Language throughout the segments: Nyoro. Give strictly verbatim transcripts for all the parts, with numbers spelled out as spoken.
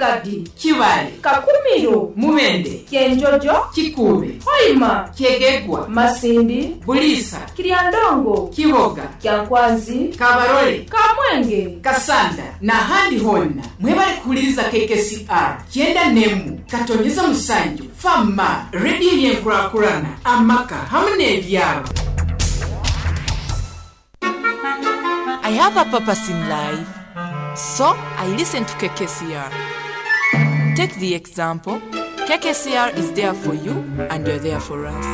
Kagadi, Kibale, Kakumiro, Mubende, Kyenjojo, Kikuube, Hoima, Kyegegwa, Masindi, Buliisa, Kiryandongo, Kiboga, Kyankwanzi, Kabarole, Kamwenge, Kasanda n'ahandi honna. Mwebale kuhuliriza K K C R kyenda nemu katonyeza musanju Fama Rediyo yenkurakurana amaka hamu n'ebyaro. I have a purpose in life, so I listen to K K C R. Take the example: K K C R is there for you and you're there for us.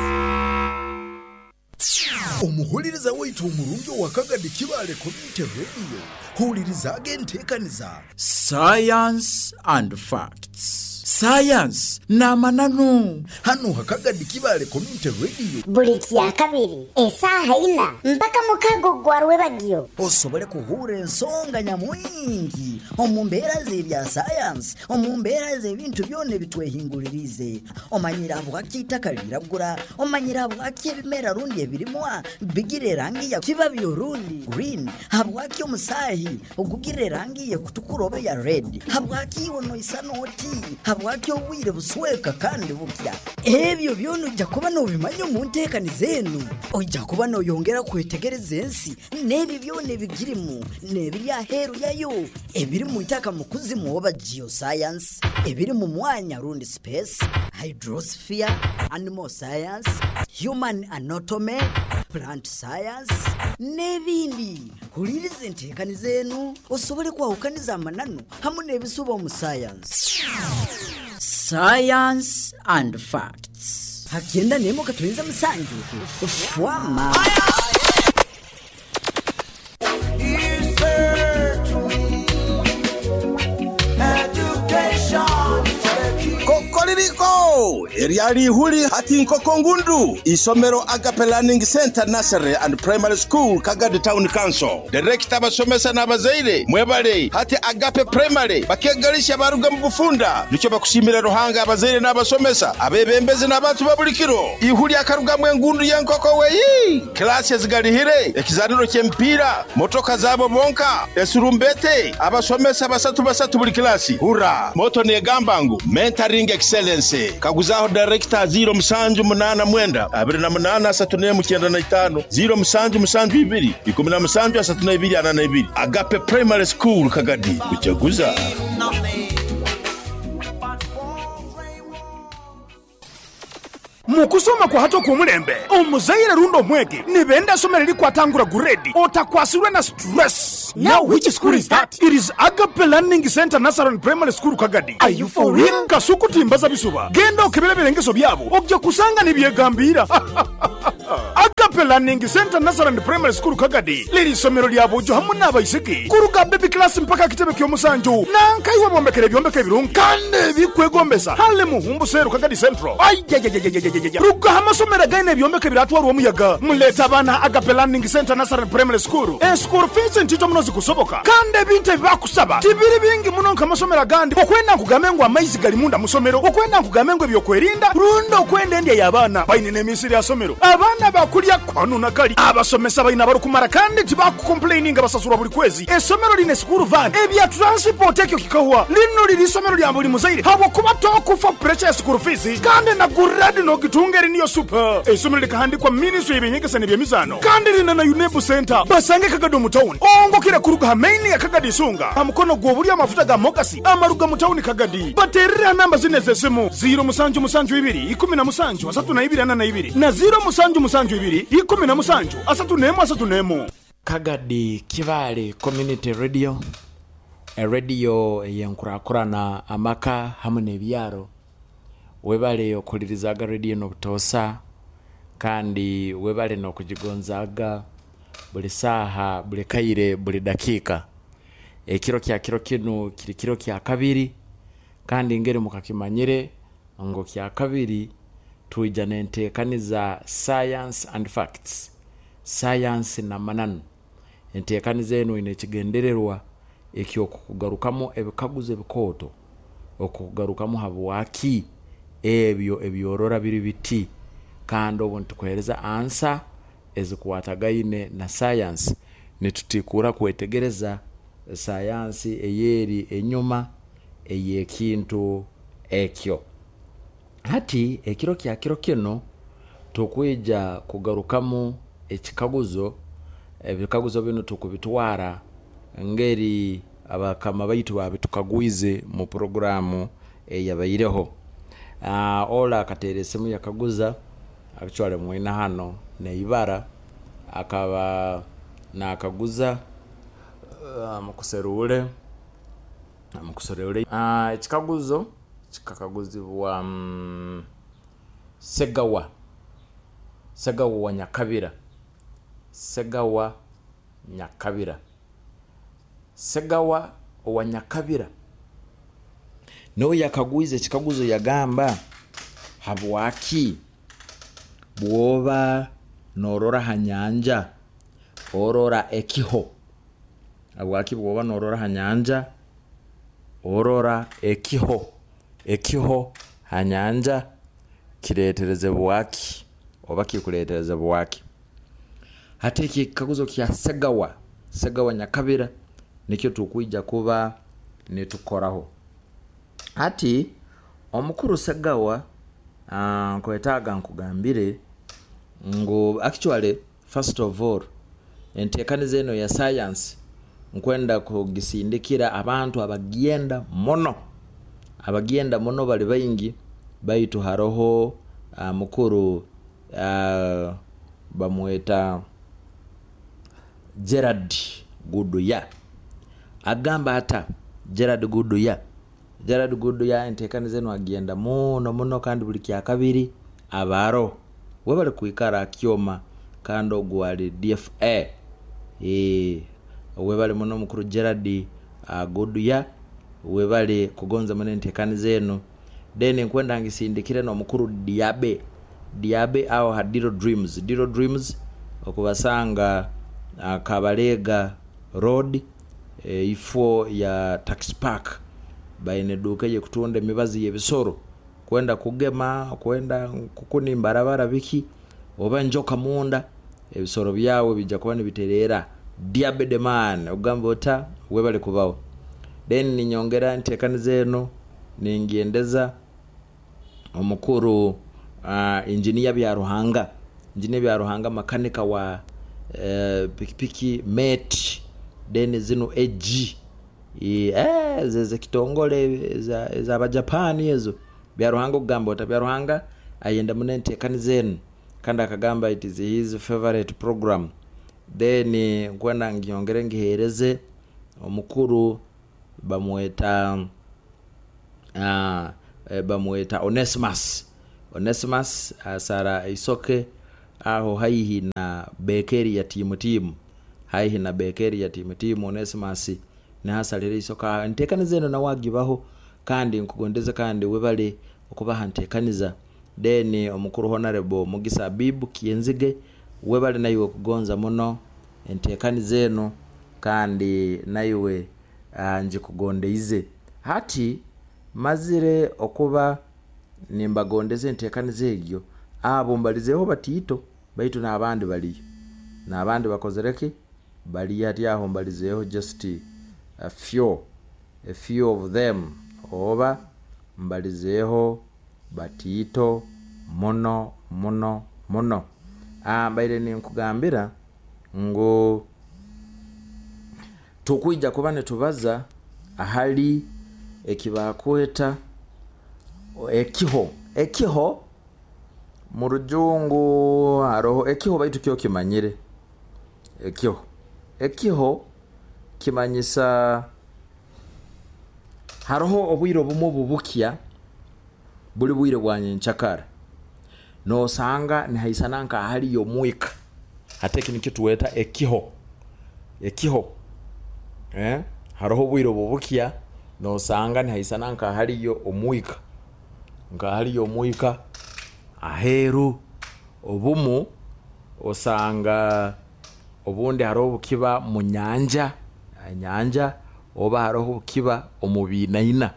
Omuhuliriza waitu omurungi owa Kagadi Kibale Community Radio, hulirizaaga enteekaniza Science and Facts, sayansi n'amananu, hano Hakagadi Kibale Community Radio. Buli kyakabiri esaaha ina mpaka mukago gwa rwebagyo. Osobole kuhura ensonga nyamwingi omu mbeera z'ebya sayansi, omu mbeera z'ebintu byona ebitwehingulirize. Omanyire habwaki itaka liragura, omanyire habwaki ebimera rundi ebirimwa bigira erangi ya kibabi orundi green, habwaki omusaahi ogugira erangi yekutukura oba ya red, habwaki iwe noisana oti, habwaki obwire busweka kandi bukya. Ebyo byona ojja kuba nobimanya omu nteekaniza enu. Ojja kuba noyongera kwetegereza ensi n'ebyo byona ebigirimu n'ebiri aheeru yayo, ebiri mu itaka mu kuzimu oba geoscience, ebiri mu mwanya rundi space, hydrosphere, animal science, human anatomy, plant science n'ebindi. Huliriza enteekaniza enu osobole kwawukaniza amananu hamu n'ebisuba omu science. Science and Facts. Hakyenda nemo katuyinza musanju fwama. He said to me, education is the key. Kokoririko eryali ihuli hati nkoko ngundu. Isomero Agape Learning Center Nursery and Primary School, Kagadi Town Council, director, abasomesa n'abazaire, mwebale. Hati Agape Primary bakegalisha baruga mu bufunda, nicyo bakushimira Ruhanga. Abazaire n'abasomesa, abebembezi n'abantu ba buli kiro, ihuli akarugamu engundu y'enkoko weyi. Kilasi ezigalihire, ekizaniro ky'emipiira, motoka zabo bonka, esurumbete, abasomesa basatu basatu buli kilasi. Hura moto negamba ngu mentoring excellence. Kaguzaho director ziro musanju munana mwenda abiri na munana asatu nemu kyenda na itano, ziro musanju musanju ibiri ikumi na musanju asatu na ibiri ana na ibiri. Agape Primary School, Kagadi, kuchaguza. Nothing but four gray walls. Mu kusoma kwa hato kumulembe, omuzaire rundi omwegi nibenda somero likwatangura grade otakwasirwe na stress. Now which school is that? It is Agape Learning Center Nursery and Primary School, Kagadi. Are you for real? Kasukutimbaza bisuba, genda okebera ebirengeso byabo, ojja kusanga nibyegambira. Agape Learning Center Nursery and Primary School, Kagadi, liri isomero lya bujo hamu n'abaisiki kuruga baby class mpaka kitebe ky'omusanju. Nankaiwe bombekera ebyombeko ebirungi kandi ebikwegombesa hale muhumbu seru Kagadi Central. Ayayayayayayaya, rugaho amasomero againe ebyombeko ebiratwarwa omuyaga. Muleta abaana Agape Learning Center Nursery and Primary School. Eschool fees ntito muno zikusoboka, kandi ebintu ebibakusaba tibiri bingi muno nk'amasomero agandi. Okwenda nkugambe ngu amaizi gali munda musomero, okwenda nkugambe ngu ebyokwerinda, rundi okwenda endya y'abaana, baine n'emisiri ya somero, abaana bakulya kwanu nakali, abasomesa balina barukumara kandi tibakukomplaininga, basasulwa buli kwezi. Esomero line school van, ebya transport ekyo kikahwa. Lino liri isomero lya buli muzaire habwokuba tokufa pressure ya school fees, kandi na grade nogitunga eri niyo super. Esomero likahandikwa Ministry y'ebyenyegesa n'ebyemizano, kandi lina na UNEB center. Basange Kagadi mu town, ongokera kuruga ha main ya Kagadi Isunga, ha mukono gw'obulyo, amafuta ga Mogasi amaruga mu town Kagadi. Baterera namba zine z'esimu: ziro musanju musanju ibiri ikumi na musanju asatu na ibiri ana na ibiri na ziro musanju musanju ibiri ikumi na musanju asatu nemu asatu nemu. Kagadi Kibale Community Radio, eradio eyenkurakurana amaka hamu n'ebyaro. Webale okulirizaga radio n'obutosa, kandi webale n'okugigonzaga buli saaha, buli kaire, buli dakiika. Ekiro kya kiro kinu kiri kiro kya kabiri, kandi ngeri mukakimanyire ngo kya kabiri tuija nenteekaniza Science and Facts, sayansi n'amananu. Enteekaniza enu ine ekigendererwa ekyokukugarukamu ebikaguzo ebikooto, okukugarukamu habwaki ebyo ebyorora biri biti, kandi obu nitukuheereza answer ezikwatagaine na sayansi, nitutikura kwetegereza sayansi eyeri enyuma. ey'ekintu ekyo. Hati ekiro kya kiro kino tukwija kugarukamu ekikaguzo. Ebikaguzo bino tukubitwara ngeri abakama baitu babitukagwize mu programu eyabaireho. Uh, ola akateera esimu yakaguza, actually mwina hano neibara akaba nakaguza uh, mukuserule mukuserule uh, ekikaguzo kikakaguzibwa um, Segawa Segawa wa Nyakabira Segawa Nyakabira Segawa wa Nyakabira nawe yakagwiza ekikaguzo yagamba, habwaki bwoba norora ha nyanja orora ekiho? Habwaki bwoba norora ha nyanja orora ekiho? Ekiho ha nyanja kiretereze bwaki oba kikuretereze bwaki? Hati ekikaguzo kya Segawa Segawa Nyakabira nikyo tukwija kuba nitukoraho. Hati omukuru Segawa, uh, nkwetaaga nkugambire ngu actually first of all enteekaniza eno ya science nkwenda kugisindikira abantu abagenda muno abagenda muno bali baingi, baitu haroho uh, mukuru uh, bamweta Gerard Guduya. Agamba ata Gerard Guduya Gerard Guduya enteekaniza eno agenda muno muno, kandi buli kya kabiri abaro webali kuikara akyoma kandi ogwo ali D F A. E, webali muno mukuru Gerard uh, Guduya, webali kugonza muno enteekaniza eno. Then nkwenda ngisindikire no mukuru Diabe Diabe aho ha Diro Dreams Diro Dreams okubasanga uh, Kabalega Road, e, ifo ya Tax Park baine duka ye kutunda emibazi y'ebisoro kwenda kugema kwenda kukuni mbarabara biki oba njoka munda ebisoro byawe bijja kuba nibiterera. Diabe the man ogamba ota webale kubaho. Then ninyongera nteekaniza eno ningendeza omukuru uh, engineer bya Ruhanga engineer bya Ruhanga makanika wa uh, pikipiki mate then zino A G eh zeze kitongole za za Abajapani ezo bya Ruhanga ogamba ota bya Ruhanga ayenda mune nteekaniza eno kandi akagamba it is his favorite program. Then nkwenda ngiongere ngihereze omukuru bamweta uh, bamweta Onesimus Onesimus asara isoke aho haihi na bekeri ya timu timu haihi na bekeri ya timu timu Onesimus nahasalire isoka nteekaniza eno nawagibaho kandi nkugondeza kandi webale okubaha nteekaniza. Then omukuru Honorable Mugisa Bibu Kienzige webale nayiwe kugonza muno enteekaniza eno kandi nayiwe uh, njikugondeize. Hati mazire okuba nimbagondeze enteekaniza egyo abo mbalizeho batiito baitu n'abandi baliyo n'abandi bakozereki bali hati aho mbalizeho just a few a few of them oba mbalizeho batiito muno muno muno. Ah, mbaire ninkugambira ngu tukwija kuba netubaza ahali ekibakweta ekiho ekiho mu rujungu haroho ekiho baitu kyo kimanyire ekiho ekiho kimanyisa haroho obwire obumwe bubukya buli bwire bwa nyenchakara nosanga nihaisana nka hali yomwika ate kino kituweta ekiho ekiho eh haroho obwire bubukya nosanga nihaisana nka haliyo omwika nka haliyo omwika aheru obumu osanga obundi haroho bukiba mu nyanja nyanja oba haroho bukiba omubinaina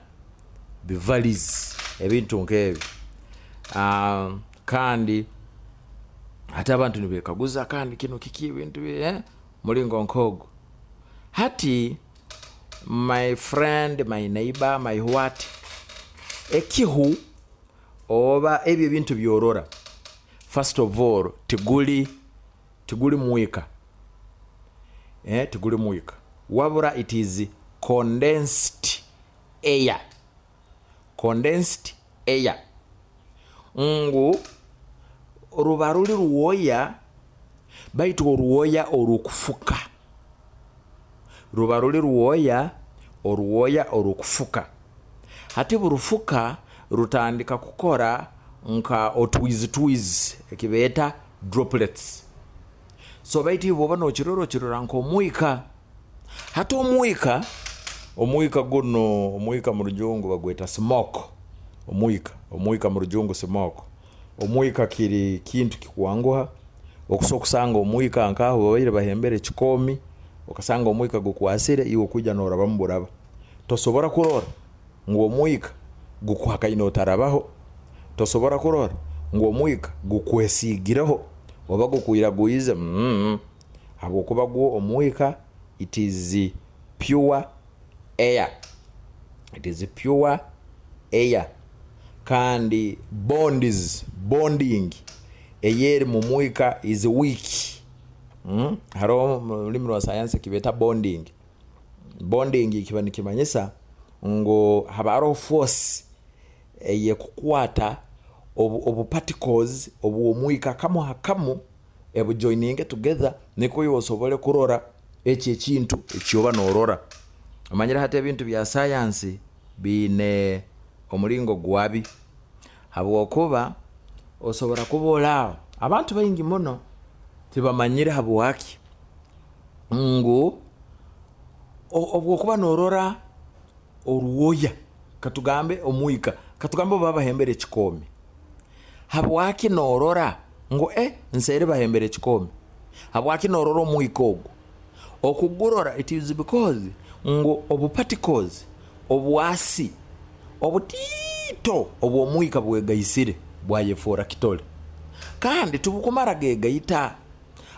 bivalis ebintu nk'ebyo. Um, kandi hata abantu nibekaguza kandi kino kiki ebintu eh mulingo nkogo. Hati My friend, my neighbor, my what, ekihu oba ebyo ebintu byorora, first of all tiguli tiguli mwika, eh, tiguli mwika, wabura it is condensed air, condensed air ngu ruba ruli ruwoya, baitu oruwoya orukufuka, ruba ruli ruwoya, oruwoya orukufuka. Hati burufuka rutandika kukora nka otwizi twizi ekibeeta droplets. So baitu iwe bwoba nokirora, okirora nk'omwika. Hati omwika, omwika guno, omwika mu rujungu bagweta smoke. Omwika, omwika mu rujungu smoke. Omwika kiri kintu kikwanguha okusobola okusanga omwika nkaho babaire bahembere ekikomi, okasanga omwika gukwasire iwe okwijja norabamu buraba, tosobora kurora ngu omwika gukuhakaine otarabaho, tosobora kurora ngu omwika gukwesigireho oba gukwiragwize, mm habwokuba gwo omwika it is pure air, it is pure air. Kandi bonds, bonding eyeri mu mwika is weak. Mm? Hariho mu rulimi rwa sayansi kibeta bonding. Bonding kiba nikimanyisa ngu haba hariho force eyekukwata obu, obu particles obw'omwika kamu hakamu ebujoininge together, nikwo iwe osobole kurora ekyo ekintu ekyoba norora. Omanyire hati ebintu bya sayansi biine omulingo gwabi, habwokuba osobora kuba oraaho abantu baingi muno tibamanyire habwaki ngu obwokuba norora oruwoya, katugambe omwika, katugambe obu bahembere ekikomi, habwaki norora ngu eh nseeri bahembere ekikomi, habwaki norora omwika ogwo? Okugurora it is because ngu obu particles obwasi obutiito obw'omwika bwegaisire bwayefoora kitole, kandi tibukumara gegaita,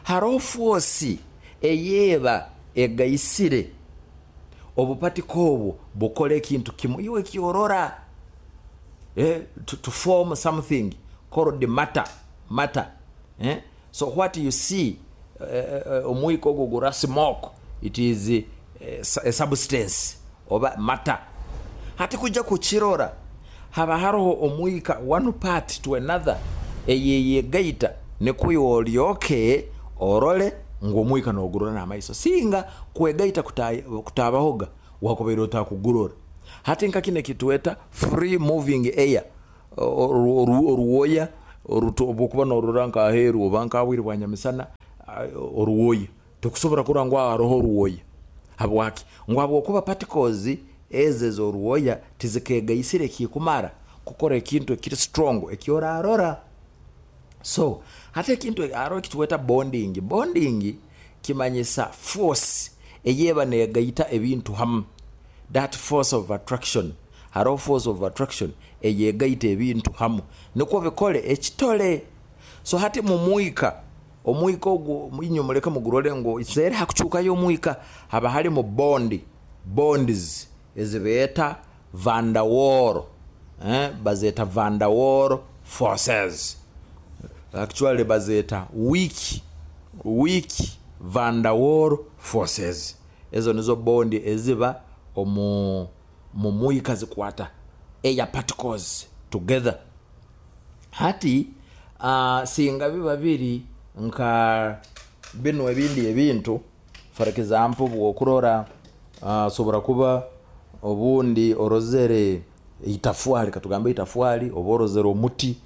haroho force eyeeba egaisire obupatiko obwo bukora ekintu kimu iwe kyorora, eh, to, to form something called matter, matter eh? So what you see, eh, omwika ogwo gura smoke, it is eh, a substance oba matter. Hati kujja kukirora haba haroho omwika one part to another eyeyegaita, nikwo iwe olyoke orole ngu omwika nogurora n'amaiso. Singa kwegaita kutabahoga wakubaire otakugurora. Hati nka kino ekitweta free moving air, oruwoya obwokuba norora nkaheeru oba nkabwire bwa nyamisana, oruwoya tokusobora kurora ngu haroho oruwoya. Habwaki? Ngu habwokuba particles ezo ez'oruwoya tizikegaisire ekikumara kukora ekintu ekiri strong ekyorarora. So hati ekintu haroho ekitweta bonding. Bonding kimanyisa force eyeba negaita ebintu hamu, that force of attraction. Haroho force of attraction eyegaita ebintu hamu nikwo bikole ekitole. So hati mumwika, omwika ogwo inywe muleke mugurore ngu nseeri hakucukayo omwika, haba harimu bond, bonds ezibeeta van der Waals, eh, bazeeta van der Waals forces, actually bazeeta weak, weak van der Waals forces. Ezo nizo bondi eziba omu mumwika zikwata air particles together. Hati uh, singa biba biri nka bino ebindi ebintu, for example bwokurora uh, sobora kuba obundi orozere itafwali, katugambe itafwali, oba orozere omuti,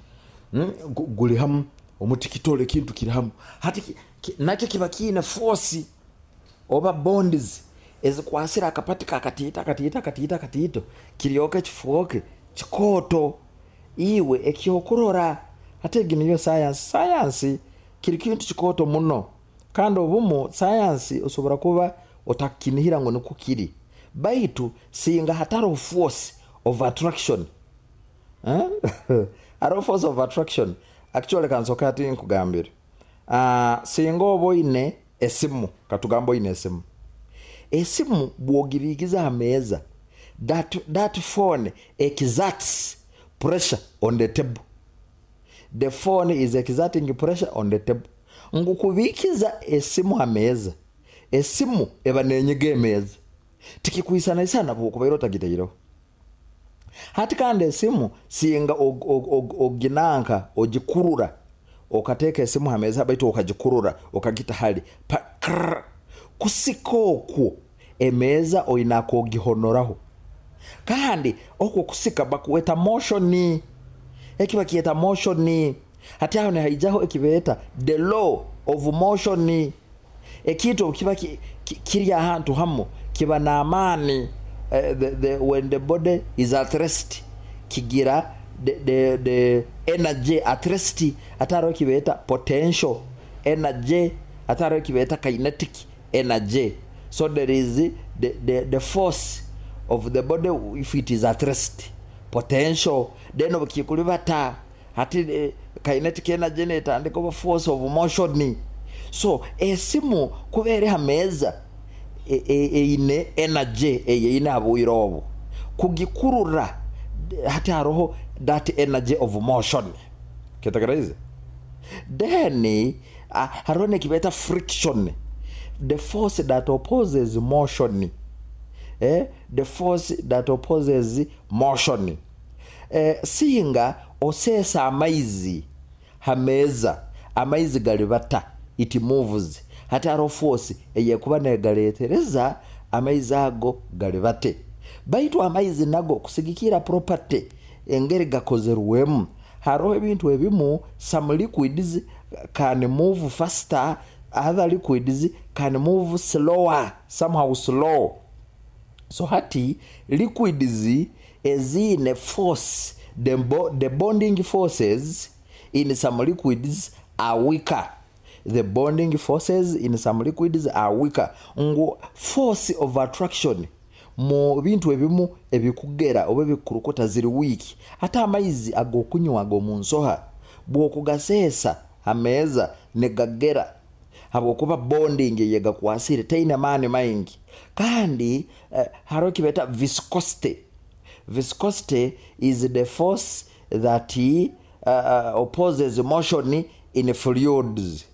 mm, guli hamu, omuti kitole kintu kiri hamu. Hati ki, ki, nakyo kiba kiine force oba bonds ezikwasira akapatika akatiito akatiito akatiito akatiito kiryoke kifuuke kikooto iwe ekyokurora. Hati egi niyo sayansi. Sayansi kiri kintu kikooto muno, kandi obumu sayansi osobora kuba otakinihira ngu nikwo kiri, baitu singa hatariho force of attraction, eh? Hariho force of attraction. Actually kansoke hati nkugambire, uh, singa oba oine esimu, katugambe oine esimu, Esimu bwogibiikiza ha meeza, that, that phone exerts pressure on the table. The phone is exerting pressure on the table. Ngu kubiikiza esimu ha meeza, esimu eba nenyiga emeeza, tikikwisanaisana bwokubaire otagitaireho. Hati kandi esimu singa oginanka ogikurura, okateeka esimu ha meeza baitu okagikurura okagita hali pa, krrr, kusika okwo emeeza oina kugihonoraho. Kandi okwo kusika bakuweta motion, ekiba kieta motion. Hati aho nihaijaho ekibeeta the law of motion. Ekintu kiba ki, ki, kiri ahantu hamu kiba n'amaani. Uh, the, the, when the body is at rest kigira the, the, the energy at rest, ataro kibeeta potential energy, ataro kibeeta kinetic energy. So there is the, the, the force of the body if it is at rest, potential, then obukikulibata hati eh, kinetic energy netandika oba force of motion. So esimu kubeere ha meeza eine energy eyeine abwire obu kugikurura, hati haroho that energy of motion. Kitakaraize then uh, haroho nekibeta friction, the force that opposes motion, eh? The force that opposes motion. Eh, singa osesa amaizi hameza, amaizi galibata, it moves. Hati haro force eyekuba negaletereza amaizi ago galibate. Baitu amaizi nago kusigikira property engeri gakozerwemu, hariho ebintu ebimu, some liquids can move faster, other liquids can move slower, somehow slow. So hati liquids ezine force, the, bo the bonding forces in some liquids are weaker. The bonding forces in some liquids are weaker. Ngu force of attraction mu bintu ebimu ebikugera oba ebikurukuta ziri weak. Ate amaizi agokunywa ago mu nsoha bw'okugaseesa ameeza negagera, habwokuba bonding yegakwasire teine maani maingi. Kandi eh, hariho kibeta viscosity. Viscosity is the force that uh, opposes motion in fluids.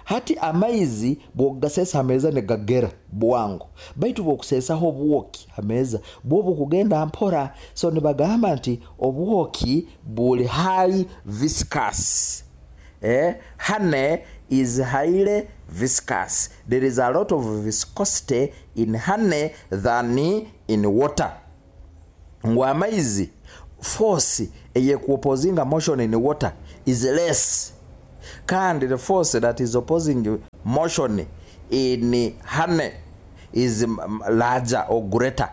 Hati amaizi bwogasesa ameza negagera bwangu, baitu bwokusesaho obwoki ameza bwobu kugenda mpora. So nibagamba nti obwoki buli high viscous. Eh, honey is highly viscous. There is a lot of viscosity in honey than in water. Ngu amaizi force eyekuopposinga motion in water is less. Kandi the force that is opposing motion in honey is larger or greater.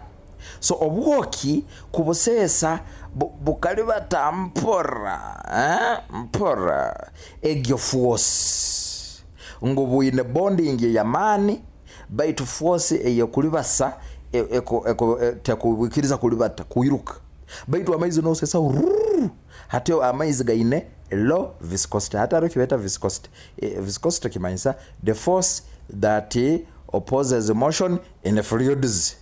So obwoki kubusesa bukalibata mpora, eh? Mpora egyo force ngu bwine bonding ya mani, baitu force eyekulibasa eko eko tekubikiriza kulibata kuiruka. Baitu amaizi nosesa hati amaizi gaine low viscosity. Hata haro kibeta viscosity. E, viscosity kimanyisa the force that opposes motion in the fluids.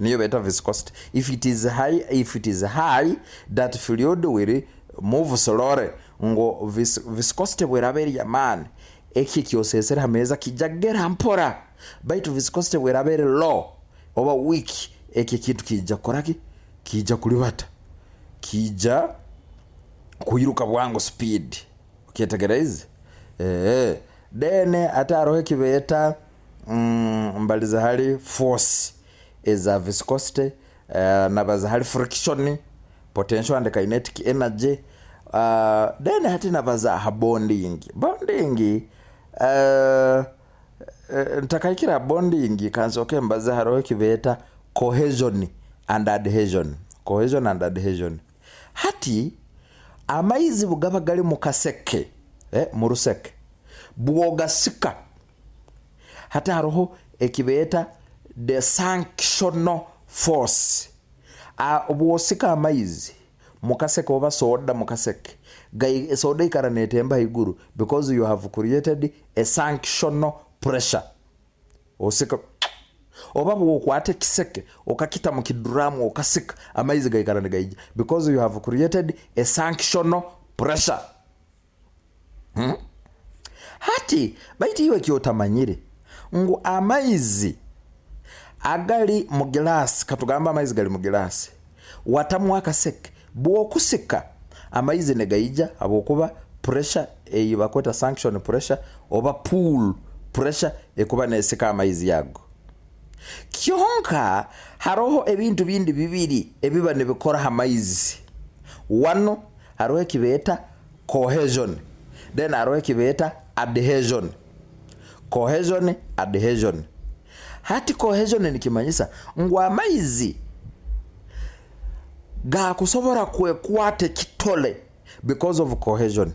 Niyo beta viscosity. If it is high, if it is high, that fluid will move slowly. Ngo vis, viscosity bweraberi ya man eki kyosesera hameza kijagera mpora. Baitu viscosity bweraberi low oba weak, eki kintu kijja koraki kijja kulibata, kijja kuiruka bwangu speed. Ukitegereza eh then ate arohe kibeta mm, mbaliza hali force is a viscosity, uh, nabaza hali friction, potential and kinetic energy. Uh, then hati nabaza ha bonding. Bonding uh, ntakaikira bonding kansoke mbaza harohe kibeta cohesion and adhesion. Cohesion and adhesion. Hati amaizi bugaba gali mu kaseke, eh, mu ruseke bwogasika, hati haroho ekibeta the sanctional force. Bwosika amaizi mukaseke oba soda mukaseke, gai soda ikara netemba iguru because you have created a sanctional pressure. Osika Oba bwokwata ekiseke okakita mu kiduramu okasika, amaizi gaikara nigaija because you have created a sanctional pressure. Hmm? Hati baitu iwe kyotamanyire ngu amaizi agali mu gilasi, katugamba amaizi gali mu gilasi, watamu akaseke, bwokusika amaizi negaija habwokuba pressure eyibakweta sanction pressure oba pool pressure ekuba nesika amaizi yago. Kyonka haroho ebintu bindi bibiri ebiba nibikora amaizi. Wano haroho ekibeeta cohesion, then haroho ekibeeta adhesion. Cohesion, adhesion. Hati cohesion nikimanyisa ngu amaizi gakusobora kwekwata ekitole because of cohesion,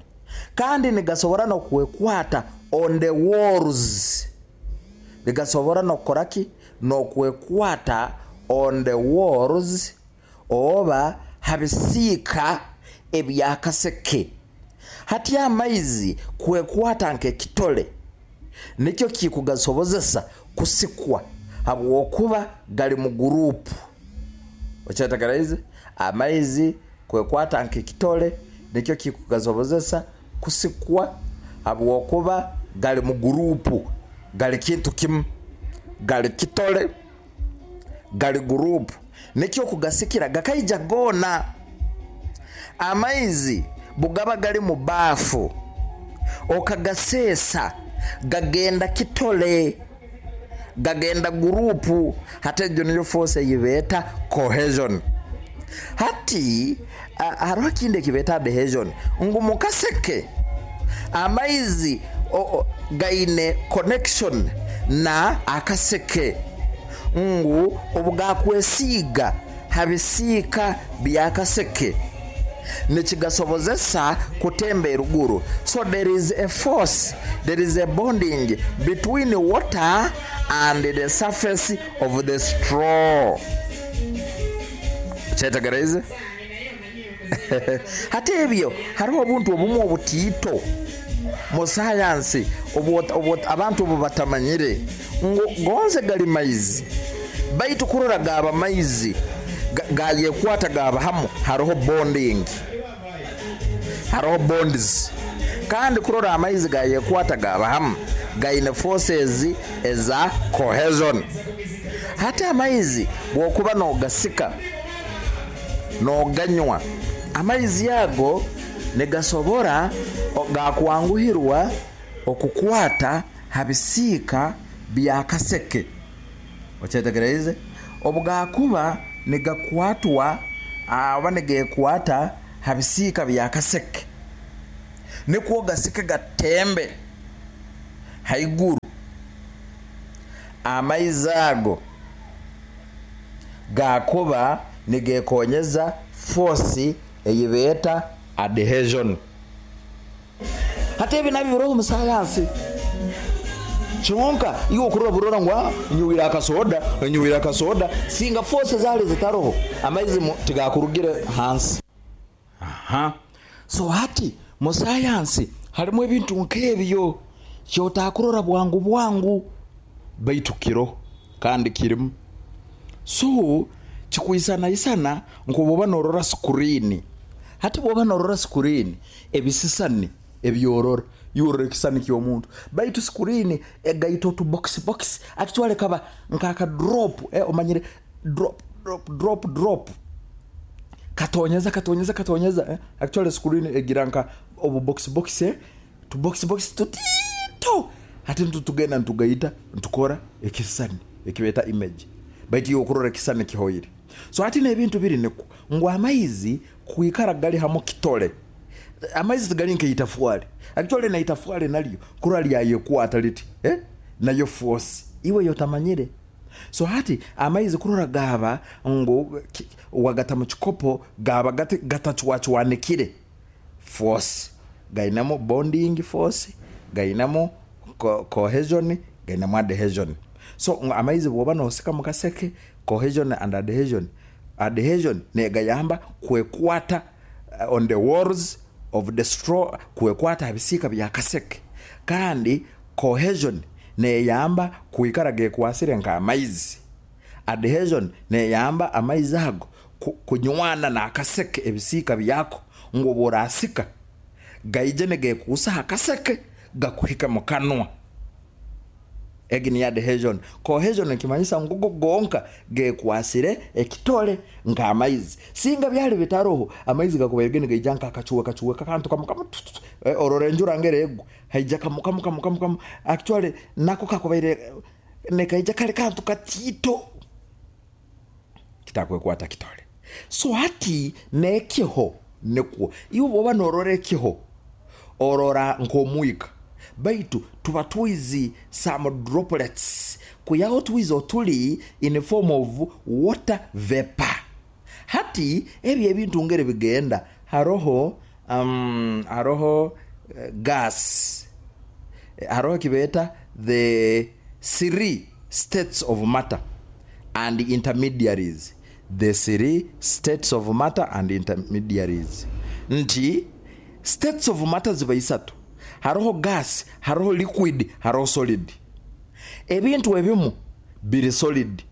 kandi nigasobora nokwekwata on the walls, nigasobora nokoraki nokwekwata on the walls oba habisiika ebyakaseke. Hati amaizi kwekwata nk'ekitole nikyo kikugasobozesa kusikwa habwokuba gali mu gurupu. Okyetegereze, amaizi kwekwata nk'ekitole nikyo kikugasobozesa kusikwa habwokuba gali mu gurupu, gali kintu kimu, gali kitole, gali gurupu, nikyo kugasikira gakaija gona. Amaizi bugaba gali mu bafu okagasesa gagenda kitole, gagenda gurupu. Hati ejo niyo force eyibeeta cohesion. Hati hariho ekindi ekibeeta adhesion, ngu mukaseke amaizi o, o, gaine connection na akaseke, ngu obugakwesiiga habisiika byakaseke nikigasobozesa kutemba eruguru. So there is a force, there is a bonding between water and the surface of the straw. Kyetegereze. Hati ebyo hariho obuntu obumwe obutiito mu sayansi abantu obu batamanyire ngu gonze gali maizi, baitu kurora gaba maizi gayekwata gaba hamu, hariho bonding, hariho bonds. Kandi kurora amaizi gayekwata gaba hamu gaine forces eza cohesion. Hati amaizi bwokuba nogasika noganywa, amaizi yago negasobora gakwanguhirwa okukwata habisiika byakaseke. Okyetegereze, obugakuba negakwatwa aba negekwata habisiika byakaseke, nikwo gasike gatembe haiguru, amaizi ago gakuba nigekonyeza force eyibeeta adhesion. Hati ebi nabyo biroho mu sayansi. Kyonka iwe okurora burora ngu nyuwira akasoda, nyuwira akasoda, singa force zali zitaroho amaizi tigakurugire hansi. Aha. So hati mu sayansi harimu ebintu nk'ebyo kyotakurora bwangu bwangu, baitu kiro kandi kirimu. So kikwisana isana nko norora screen. Hati bwoba norora screen ebisisani ebyorora yorora ekisani ky'omuntu, baitu screen egaita otu box box actually kaba nkaka drop, eh, omanyire drop drop drop drop katonyeza katonyeza katonyeza, eh? Actually screen egira nka obu box box, eh? Tu box box tutito hati ntutugenda ntugaita ntukora ekisani ekibeta image, baitu yokurora ekisani kihoire. So hati n'ebintu biri niko ngu amaizi kuikara gali hamo kitole, amaizi gali nkeitafuali actually na itafuali nalyo kurora lyayekwata liti, eh? Nayo force iwe yotamanyire. So hati amaizi kurora gaba ngu wagata mu kikopo gaba gatachwachwanikire force, gainamo bonding force, gainamo co cohesion, gainamo adhesion. So amaizi bwoba nosika mukaseke, cohesion and adhesion, adhesion negayamba kwekwata uh, on the walls of the straw, kwekwata habisika byakaseke, kandi cohesion neyamba kuikara gekwasire nka amaizi. Adhesion neyamba amaizi ago kunywana n'akaseke, ebisiika byako ngu oba orasika gaije negekuusa akaseke gakuhika mu kanwa. Egi ni adhesion. Cohesion nikimanyisa ngugo gonka gekwasire ekitole nk'amaizi. Singa byali bitaroho, amaizi gakubaire nigaija nk'akacuwe kacuwe kakantu kamu kamu, orora enjura ngere egwa haija kamu kamu kamu kamu kamu, actually nako kakubaire nekaija kali kantu katito kitakwekwata kitole. So hati nekiho nikwo iwe bwoba norora ekiho orora nk'omwika, baitu tuba twizi some droplets kuyaho twizi otuli in form of water vapor. Hati ebyo ebintu ngere bigenda, haroho um, haroho uh, gas, haroho kibeta the three states of matter and intermediaries, the three states of matter and intermediaries. Nti states of matter ziba isatu: haroho gas, haroho liquid, haroho solid. Ebintu ebimu biri solid,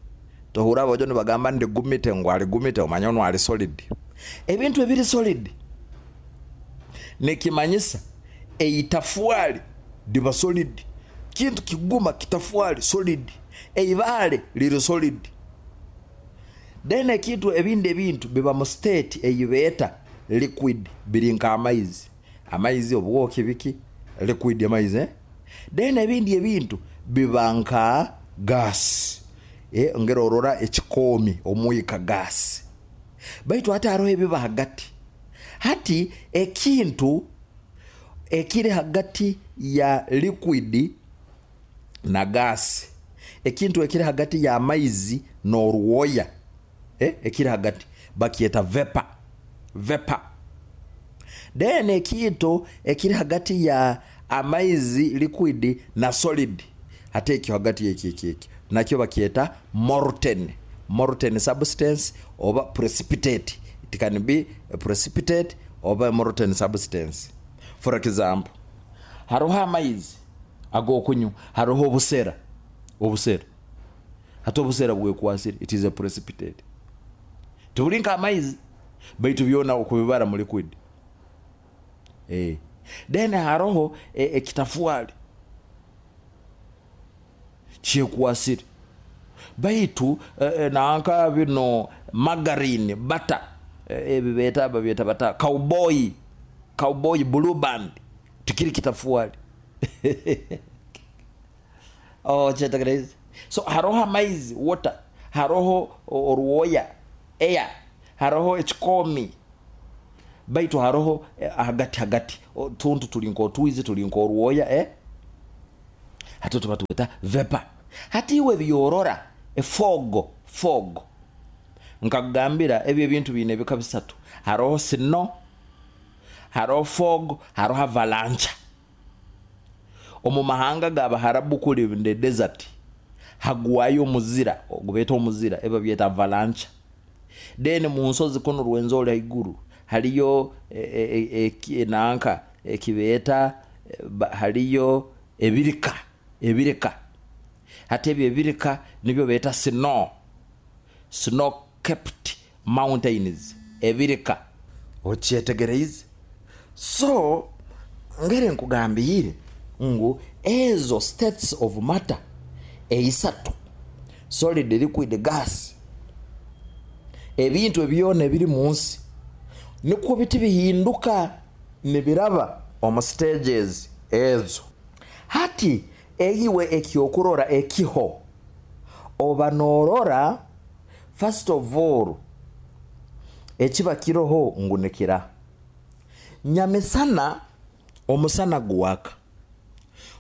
tohura abajo nibagamba ndi gumite, ngu ali gumite, omanya ono ali solid. Ebintu ebiri solid nekimanyisa eitafwali diba solid, kintu kiguma kitafwali solid, eibaale liri solid. Then ekintu ebindi ebintu biba mu state eyibeeta liquid, biri nka amaizi, amaizi obwoki biki liquid amaizi, eh? Then ebindi ebintu biba nka gas, eh, ngero orora ekikomi omwika gas. Baitu hati haroho ebiba hagati. Hati ekintu ekiri hagati ya liquid na gas, ekintu ekiri hagati ya amaizi n'orwoya, eh, ekiri hagati bakyeta vapor, vapor. Then ekintu ekiri hagati ya amaizi liquid na solid, hati ekyo hagati eki eki eki nakyo bakyeta molten, molten substance oba precipitate. It can be a precipitate oba molten substance. For example, haroho amaizi agokunywa, haroho obusera, obusera hati obusera bwekwasire, it is a precipitate. Tubuli nka amaizi baitu byona okubibara mu liquid. Eh. Then haroho ekitafuali kyekwasire, baitu e, nanka bino margarine, butter, ebibeta babyeta bata cowboy, cowboy blue band tikiri kitafuali. Oh, kyetegereze. So haroho amaizi water, haroho orwoya air, haroho ekikomi, baitu haroho hagati hagati tuntu tuli nk'otwizi tuli nk'orwoya, eh? Hati tuba tuweta vapor. Hati iwe byorora efogo, fog nkakugambira ebyo ebintu biine ebika bisatu: haroho snow, haroho fog, haroho avalanche. Omu mahanga g'Abaharabu kuli the desert hagwayo omuzira ogubeta omuzira, eba byeta avalanche. Then mu nsozi kuno Rwenzori haiguru haliyo e, e, e, nanka ekibeta haliyo ebirika, ebirika. Hati ebyo ebirika nibyo beta snow, snow capped mountains, ebirika. Okyetegereize? So ngere nkugambire ngu ezo states of matter eisatu, solid, liquid, gas, ebintu ebyona ebiri mu nsi nikwo biti bihinduka nibiraba omu stages ezo. Hati eyiwe ekyokurora ekiho oba norora, first of all ekiba kiroho ngu nikira nyamisana. Omusana guwaka,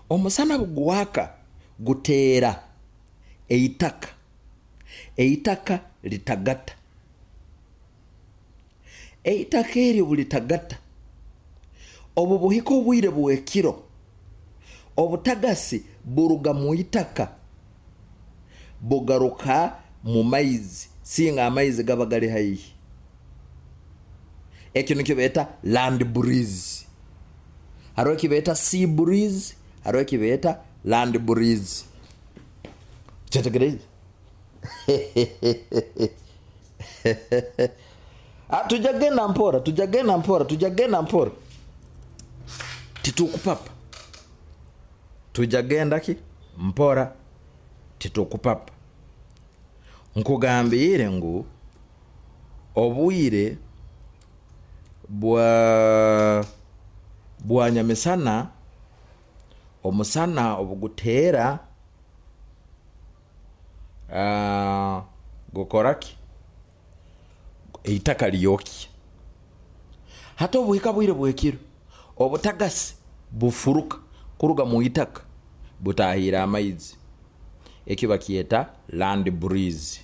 omusana guwaka guteera eitaka, eitaka litagata, eitaka eryo bulitagata, obu buhika obwire bwekiro obutagasi buruga mu itaka bugaruka mu maizi, singa amaizi gaba gali haihi. Ekyo nikyo beeta land breeze. Hariho ekibeeta sea breeze, hariho ekibeeta land breeze. Kyetegereze. Ah, tujagenda mpora, tujagenda mpora, tujagenda mpora, titukupapa, tujagenda ki mpora, titukupapa. Nkugambire ngu obwire bwa bwa nyamisana, omusana obugutera uh, gukoraki eitaka lyoki. Hata obuhika bwire bwekiro obutagasi bufuruka kuruga mu itaka butahira amaizi, ekiba kieta land breeze.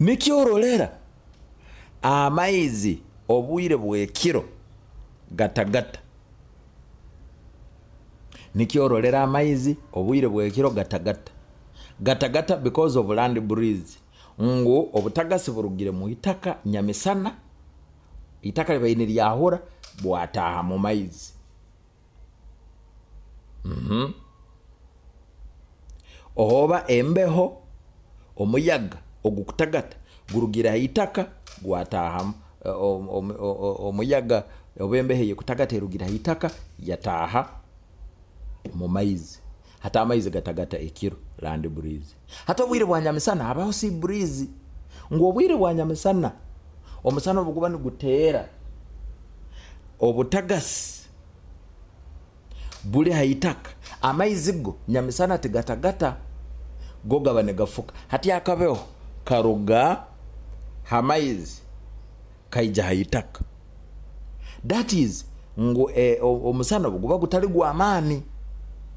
Nikyorolera amaizi obwire bwekiro gatagata. Nikyorolera amaizi obwire bwekiro gatagata gatagata because of land breeze. Ngu obutagasi burugire mu itaka nyamisana, itaka libaine lyahura bwataha mu maizi. Mhm. Ohoba embeho omuyaga ogukutagata gurugira itaka gwataha omuyaga obembehe yekutagata erugira itaka yataha mu maizi. Hata amaizi gatagata ekiro land breeze. Hata obwire bwa nyamisana habaho sea breeze. Ngu obwire bwa nyamisana omusana obuguba niguteera obutagasi buli haitaka amaizi go nyamisana tigatagata go gaba negafuka. Hati akabeho karuga hamaizi kaija haitaka. That is ngu e, omusana obuguba gutali gwa amani,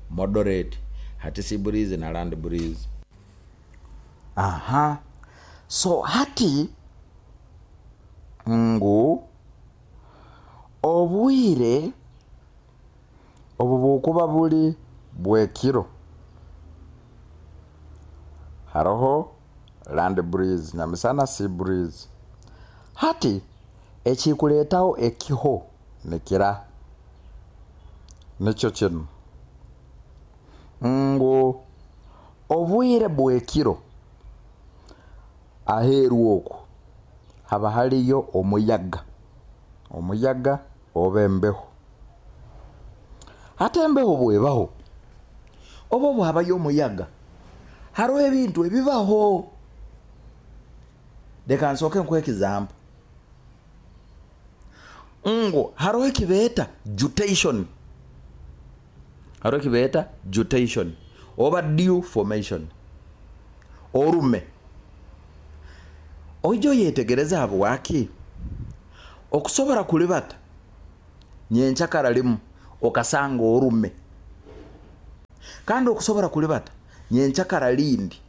moderate. Hati sea breeze na land breeze. Aha. So hati ngu obwire obubukuba buli bwekiro haroho land breeze nyamisana sea breeze. Hati ekikuletaho ekiho nikira nikyo kino ngu obwire bwekiro aheru oku haba haliyo omuyaga, omuyaga oba embeho. Hata embeho bwebaho oba bwabayo omuyaga hariho ebintu ebibaho. Leka nsooke nkuhe example. Ngo hariho ekibeeta jutation, hariho ekibeeta jutation oba dew formation, orume. Oijo yetegereza habwaki okusobora kulibata nyenchakara limu okasanga orume, kandi okusobora kulibata nyenchakara lindi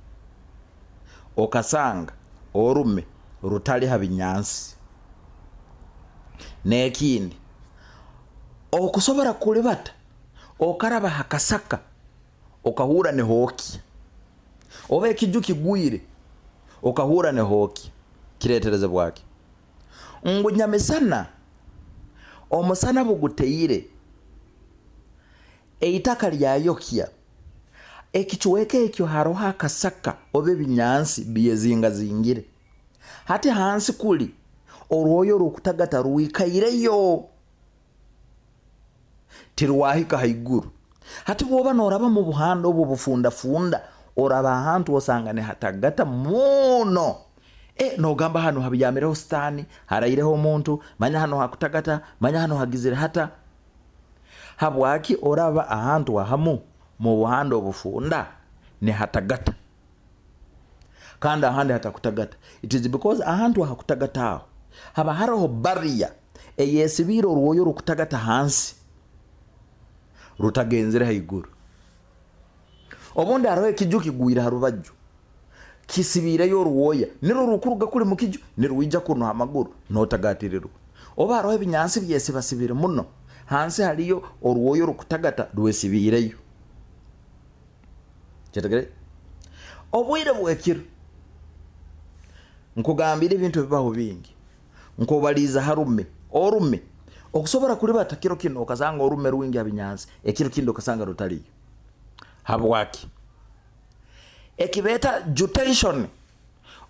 okasanga orume rutali habinyansi. Nekindi okusobora kulibata okaraba hakasaka okahura ne hoki, oba ekiju kigwire okahura ne hoki. Kiretereze bwaki ngu nyamisana omusana buguteire eitaka lyayokia ekichweke ekyo haroho akasaka oba ebinyansi byezinga zingire. Hati hansi kuli orwoyo rukutagata ruikaireyo tirwahika haiguru. Hati bwoba noraba mu buhanda obu bufunda funda oraba ahantu osanga ne hatagata muno. E nogamba hano habiyamireho stani haraireho omuntu, manya hano hakutagata, manya hano hagizire hata. Habwaki oraba ahantu ahamu mu buhanda obufunda ne hatagata kandi ahandi hatakutagata. It is because ahantu hakutagata aho haba hariho barrier eyesibira orwoyo rukutagata hansi rutagenzere haiguru. Obundi hariho ekiju kigwira harubaju kisibireyo orwoya niro rukuruga kuli mukiju niruija kuno amaguru notagatirirwa. Oba hariho ebinyansi byesibasibire muno hansi haliyo orwoyo rukutagata rwesibireyo. Kyetegere obwire bwekiro nkugambira ebintu bibaho bingi. Nkobaliza harume orume okusobora kulibata kiro kino okasanga orume rwingi abinyansi ekiro kindi okasanga rutaliyo. Habwaki Ekibeeta gutation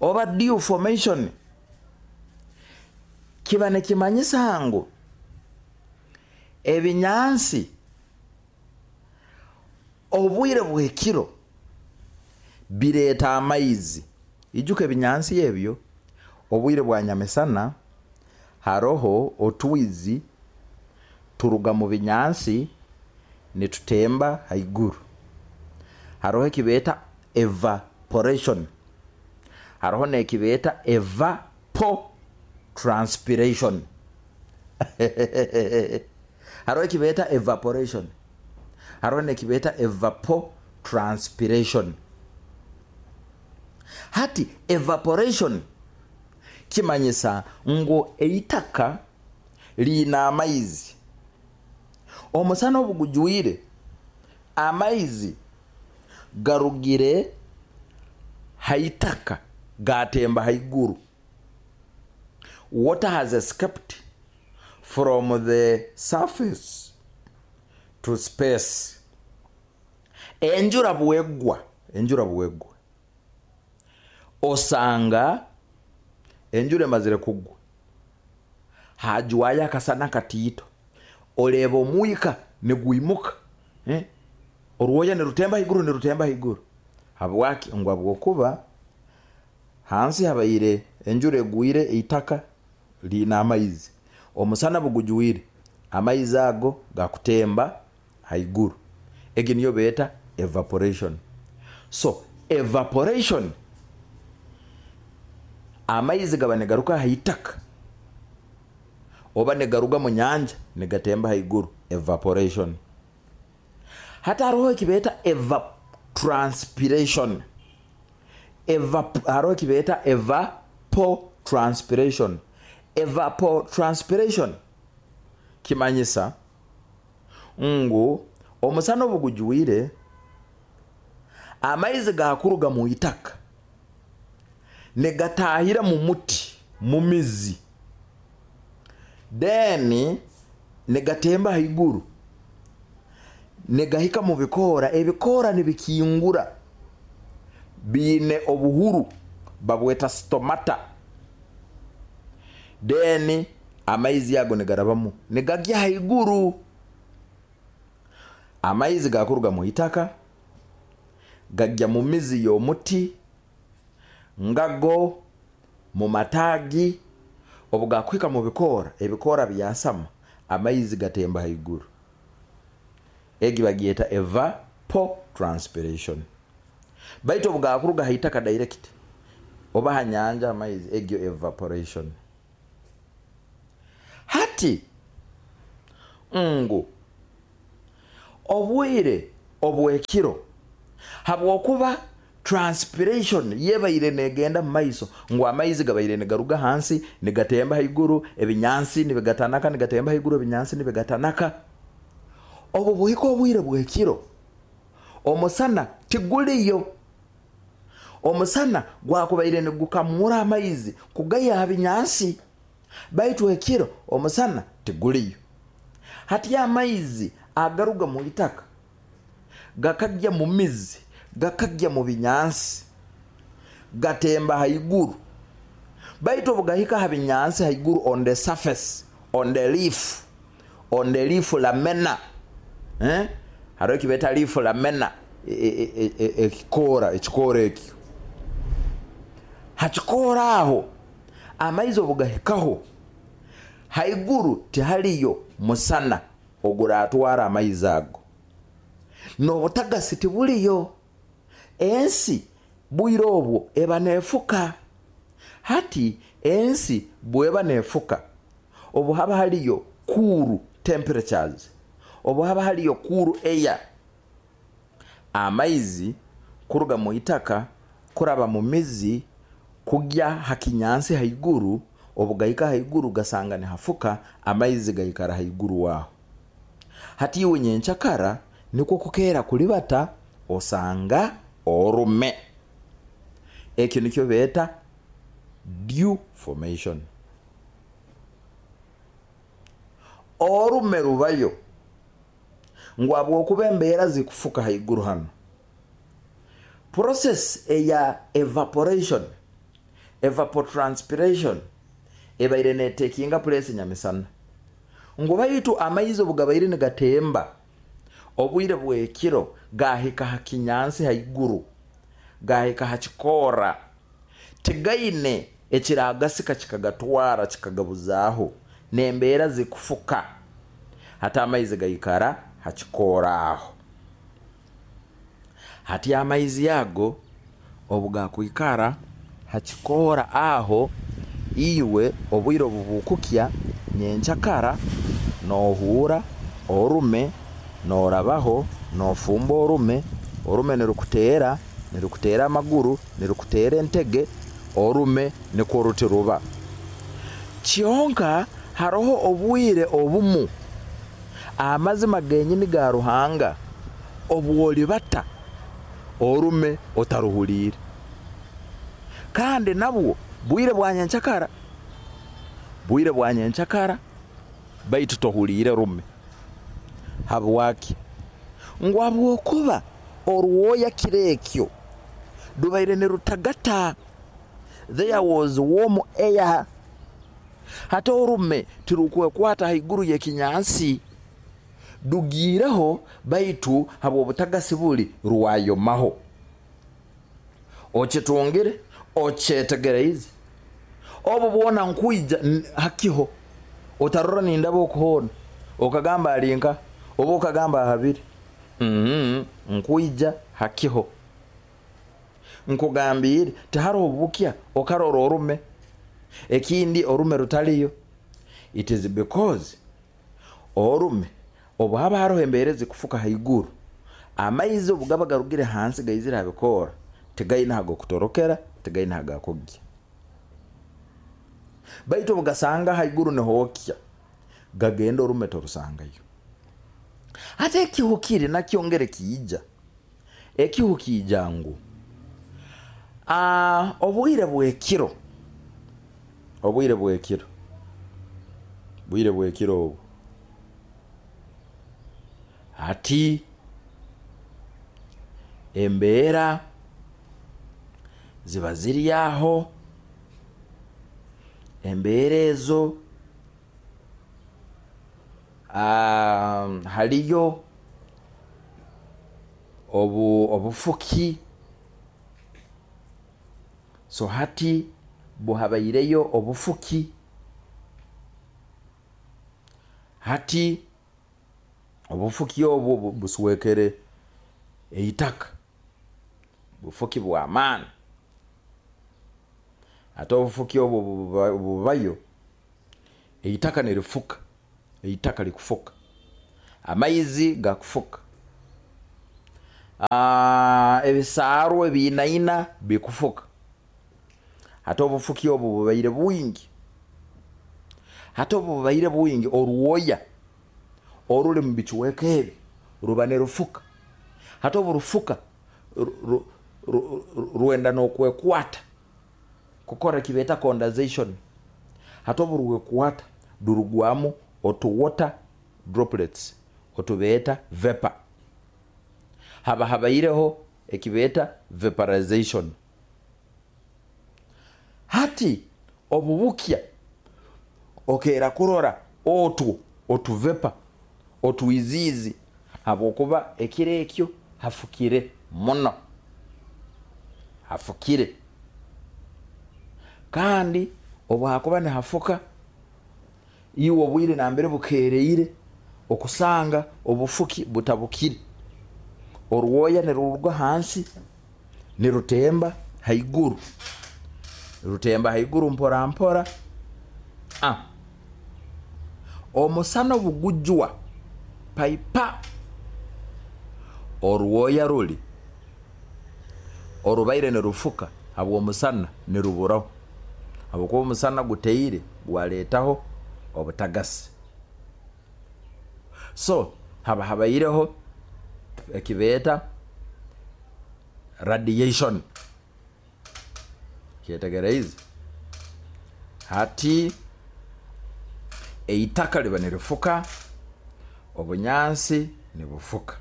oba dew formation kiba nikimanyisa ngu ebinyansi obwire bw'ekiro bireeta amaizi. Ijuka ebinyansi ebyo obwire bwa nyamisana haroho otwizi turuga mu binyansi nitutemba haiguru. Haroho ekibeeta evaporation, haroho n'ekibeeta evapotranspiration. Haroho ekibeeta evaporation, haroho n'ekibeeta evapotranspiration. Hati evaporation kimanyisa ngu eitaka liina amaizi, omusana obugujwire amaizi garugire haitaka gatemba haiguru. Water has escaped from the surface to space. Enjura bwegwa, enjura bwegwa osanga enjura emazire kugwa hajwayo akasana katiito, oreba omwika nigwimuka, eh? Orwoya nirutemba haiguru, nirutemba haiguru. Habwaki? Ngu habwokuba hansi habaire enjura egwire, eitaka liina amaizi, omusana bugujwire amaizi ago gakutemba haiguru. Egi niyo beeta evaporation. So evaporation amaizi gaba nigaruka haitaka oba nigaruga mu nyanja nigatemba haiguru, evaporation. Hata haroho ekibeeta evapotranspiration. Evap, haroho ekibeeta evapotranspiration. Evapotranspiration kimanyisa ngu omusana obugujwire amaizi gakuruga mu itaka nigatahira mu muti, mu mizi, then nigatemba haiguru nigahika mu bikoora, ebikoora nibikingura biine obuhuru babweta stomata, then amaizi ago nigarabamu nigagya haiguru. Amaizi gakuruga mu itaka gajya mu mizi y'omuti ngago mu matagi, obugakwika mu bikoora, ebikoora byasama amaizi gatemba haiguru. Egi bagyeta evapotranspiration. Baitu obugakuruga haitaka direct oba hanyanja amaizi, egyo evaporation. Hati ngu obwire obwekiro habwokuba transpiration yebaire negenda mu maiso, ngu amaizi gabaire nigaruga hansi nigatemba haiguru, ebinyansi nibigatanaka nigatemba haiguru, ebinyansi nibigatanaka. Obu buhika obwire bwekiro omusana tiguliyo, omusana gwakubaire nigukamura amaizi kugaya binyansi, baitu ekiro omusana tiguliyo. Hati amaizi agaruga mu itaka gakajya mu mizi gakajya mu binyansi gatemba haiguru, baitu obugahika ha binyansi haiguru on the surface, on the leaf, on the leaf lamina, eh? Hariho ekibeta leaf lamina, ekikoora ekikoora ekyo hakikoora aho amaizi obugahikaho haiguru tihaliyo musana oguratwara amaizi ago, n'obutagasi tibuliyo, ensi bwire obwo eba neefuka. Hati ensi bweba neefuka obu haba haliyo cool temperatures, obu haba haliyo cool air, amaizi kuruga mu itaka kuraba mu mizi kugya hakinyansi haiguru, obugahika haiguru gasanga nihafuka, amaizi gaikara haiguru waho. Hati iwe nyenchakara nikwo kukera kulibata osanga orume. Ekyo nikyo beeta dew formation. Orume rubayo ngu habwokuba embeera zikufuka haiguru hano, Process eya evaporation, evapotranspiration ebaire netekinga place nyamisana. Ngu baitu amaizi obugabaire nigatemba obwire bwekiro gahika ha kinyansi haiguru, gahika ha kikora, tigaine ekiragasika kikagatwara kikagabuzaaho, nembeera zikufuka hati amaizi gaikara ha kikora aho. Hati amaizi ago obugakwikara ha kikora aho, iwe obwire obubukukya nyenkyakara nohura orume, norabaho nofumba orume, orume nirukutera, nirukutera amaguru, nirukutera entege, orume nikwo ruti ruba. Kyonka haroho obwire obumu amazima genyini ga Ruhanga obwolibata orume otaruhulire, kandi nabwo bwire bwa nyenkyakara, bwire bwa nyenkyakara baitu tohulire rume. Habwaki? Ngu habwokuba orwoya kirekyo dubaire nirutagata, there was warm air. Hati orume tirukwekwata haiguru y'ekinyansi, dugiireho baitu habw'obutagasi buli rwayomaho. Okitungire, okyetegereize, obu bwona nkwija hakiho otarora nindaba okuhoona okagamba alinka oba okagamba ahabiri. Mm-hmm. Nkwija hakiho nkugambire tiharoho bukya okarora orume ekindi orume rutaliyo. It is because orume obu haba haroho embeera zikufuka haiguru, amaizi obu gaba garugire hansi gaizire habikoora, tigaine hagokutorokera, tigaine hagakugya. Baitu obugasanga haiguru nihookya, gagenda orume torusangayo. Hati ekihu kiri nakyo ngere kiija, ekihu kiija ngu ah, obwire bwekiro, obwire bwekiro, bwire bwekiro obu hati embeera ziba ziri aho, embeera ezo um, haliyo obu obufuki. So hati buhabaireyo obufuki, hati obufuki obwo buswekere eitaka, bufuki bw'amaani. Ate obufuki obwo bubayo, eitaka nirifuka, eitaka likufuka, amaizi gakufuka, ebisaaru ebiinaina bikufuka. Hati obufuki obwo bubaire bwingi, hati obu bubaire bwingi, orwoya oruli mu bicweka ebi ruba nirufuka. Hati obu rufuka rwenda n'okwekwata kukora ekibeeta condensation. Hati obu rwekwata durugwamu otu water droplets otubeeta vapor. Haba habaireho ekibeeta vaporization. Hati obubukya okeera kurora otwo otuvepa otwiziizi, habwokuba ekiro ekyo hafukire muno, hafukire. Kandi obu hakuba nihafuka, iwe obwire nambere bukeereire okusanga obufuki butabukire, orwoya niruruga hansi nirutemba haiguru, rutemba haiguru mpora mpora. Ah, omusana obugujwa paipa, orwoya ruli orubaire nirufuka habw'omusana niruburaho, habwokuba omusana guteire gwaleetaho obutagasi. So haba habaireho ekibeeta radiation. Kyetegereize? Hati eitaka liba nirifuka, obunyansi nibufuka,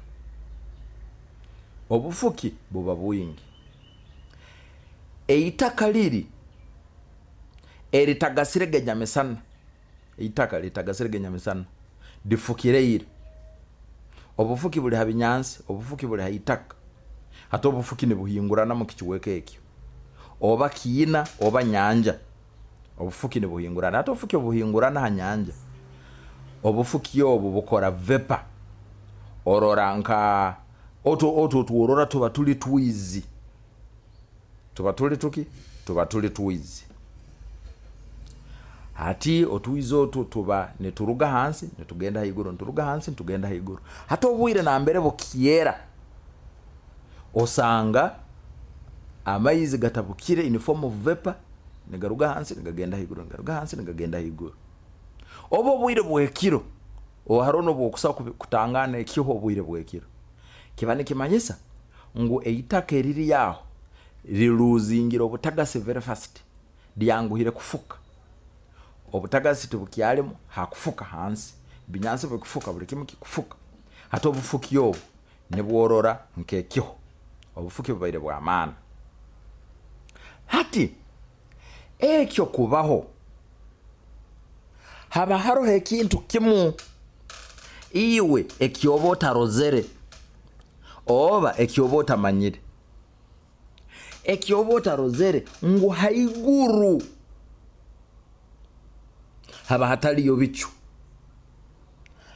obufuki buba bwingi. Eitaka liri eritagasire genyamisana, eitaka litagasire genyamisana lifukireire. Obufuki buli ha binyansi, obufuki buli ha itaka. Hati obufuki nibuhingurana mu kikiweka ekyo, oba kiina oba nyanja, obufuki nibuhingurana. Hati obufuki obuhingurana ha nyanja, obufuki obu bukora vepa. Orora nka otwo otwo tworora tuba tuli twizi, tuba tuli tuki tuba tuli twizi. Hati otwizi otwo tuba nituruga hansi nitugenda haiguru, nituruga hansi nitugenda haiguru. Hati obwire nambere bukyera, osanga amaizi gatabukire in form of vapor, nigaruga hansi nigagenda haiguru, nigaruga hansi nigagenda haiguru. Oba obwire bwekiro hariho nobwokusa kutangana ekiho obwire bwekiro, kiba nikimanyisa ngu eitaka eriri aho riruzingira obutagasi very fast, lyanguhire kufuka. Obutagasi tibukyalimu hakufuka hansi, binyansi bikufuka, buli kimu kikufuka. Hati obufuki obu nibworora nkekiho, obufuki bubaire bw'amaani. Hati ekyo kubaho haba haroho ekintu kimu iwe ekyoba otarozere oba ekyoba otamanyire. Ekyoba otarozere ngu haiguru haba hataliyo bicu.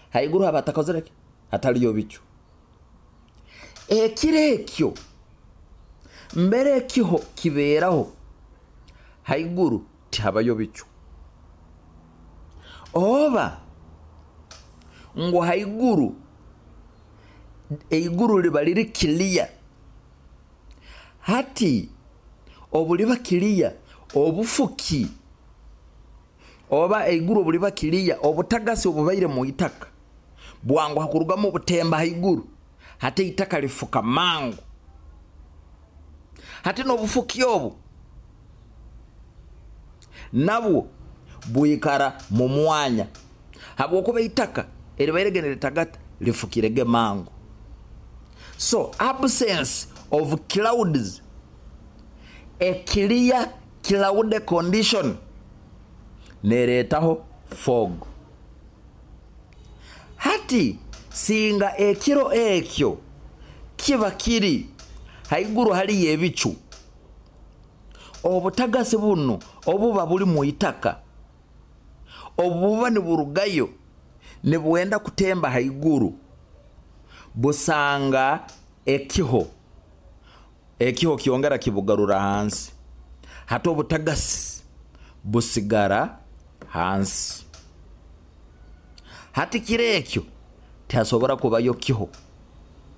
Haiguru haba hatakozere ki? Hataliyo bicu. Ekiro ekyo mbere ekiho kibeeraho haiguru tihabayo bicu. Oba ngu haiguru eiguru liba liri kiliya. Hati obuliba kiliya obufuki oba eiguru obuliba kiliya obutagasi obubaire mu itaka bwangu hakurugamu obutemba haiguru, hati itaka lifuka mangu. Hati n'obufuki obu nabwo bwikara mu mwanya, habwokuba itaka eribaire litagata lifukirege mangu. So absence of clouds, a clear cloud condition neretaho fog. Hati singa ekiro ekyo kiba kiri haiguru haliyo ebicu, obutagasi buno obuba buli mu itaka obuba niburugayo nibuwenda kutemba haiguru, busanga ekiho, ekiho kyongera kibugarura hansi. Hati obutagasi busigara hansi. Hati kiro ekyo tihasobora kubayo kiho.